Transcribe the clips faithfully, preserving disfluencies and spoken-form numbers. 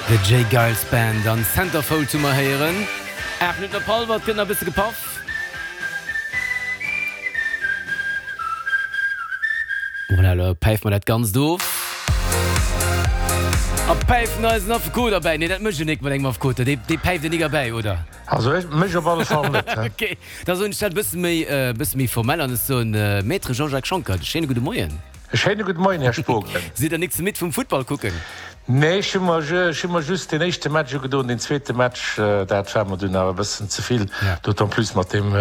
The J. Geils Band an Centerfold hu mer héieren. Aacht Minutten op hallwer, et gëtt nach e bësse gepaff. Voilà, elo päife mer dat Ganzt of. A päifen eisen Affekot erbäi. Nee, dat mécht en nik mat engem Affekot, dee, dee päift en nik erbäi, oder? Also ech, mech op alle Fall net. Ok, da soen ech dat e bësse méi, e bësse méi formell an ech soen, Maître Jean-Jacques Schonckert, e schéine gudde Moien. E schéine gudde Moien, Här Spogen. Sidd Der nik ze midd vum Futtball kucken? Nee, ech hu mer, ech hu mer just deen éischte Match ugedoen. Deen zweete Match, dat war mer dunn awer e bëssen ze vill, d'autant plus mat deem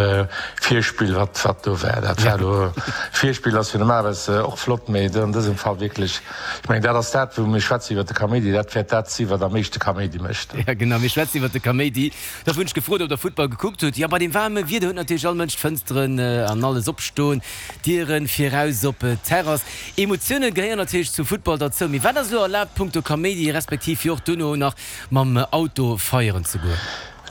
Virspill, wat, wat do war. Dat war elo, Virspill ass jo normalerweis och flott, mee an dësem Fall wierklech, ech mengen, dat ass dat, wou mir schwätzen iwwert de Kaméidi, dat wäert dat sinn, wat am meeschte Kaméidi mécht. Ja, genau, mir schwätzen iwwert de Kaméidi. Da hunn ech gefrot, ob Der Futtball gekuckt hutt. Jo, bei deem waarme Wieder huet natierlech all Mënsch d'Fënsteren an alles opstoen. Dieren viraus op d'Terrass. Emotioune gehéieren natierlech zum Futtball derzou. Mee wat ass elo erlaabt punkto Kaméidi, respektiv fir och duerno nach mam Auto feieren ze goen?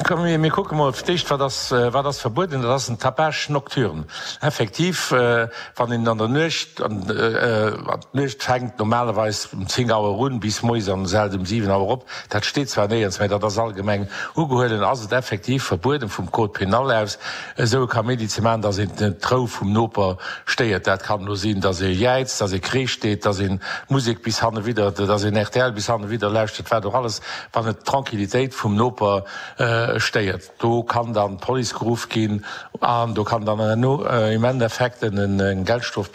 Komm mir kucke mol fir d'éischt, wat ass, wat ass verbueden. Dat ass en Tapage nocturne. Effektiv, wann een an der Nuecht, an d'Nuecht fänkt normalerweis um zéng Auer un bis moies an hält um siwen Auer op, dat steet zwar néierens, mä dat ass allgemeng ugehuelen, ass et effektiv verbueden vum Code pénal aus, esou e Kaméidi ze maachen, dass een d'Rou vum Noper stéiert. Dat kann elo sinn, dass ee jäizt, dass ee Kreesch deet, dass een Musek bis hannewidder, dass een rtl bis hannewidder lauschtert, wat och alles, wann et d'Tranquillitéit vum Noper stéiert. Do kann dann d'Police geruff ginn an do kann dann herno im Endeffekt eng Geldstrof bis